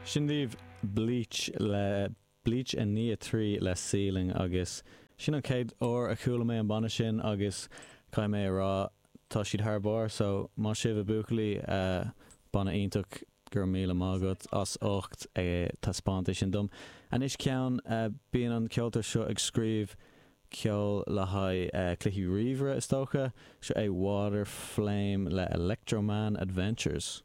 Sin daoibh Bleach le Bleach 9 3 le Ceiling agus sin an chéad uair a chuala mé an banna sin agus caithfidh mé a rá tá siad thar barr so maith sibh a buachaillí, banna iontach, go raibh míle maith agat as ucht taispeáint é sin dom. Anois ceann, bíonn an ceoltóir seo ag scríobh ceol le haghaidh cluichí ríomhaire is dócha, seo é Waterflame le Electroman Adventures.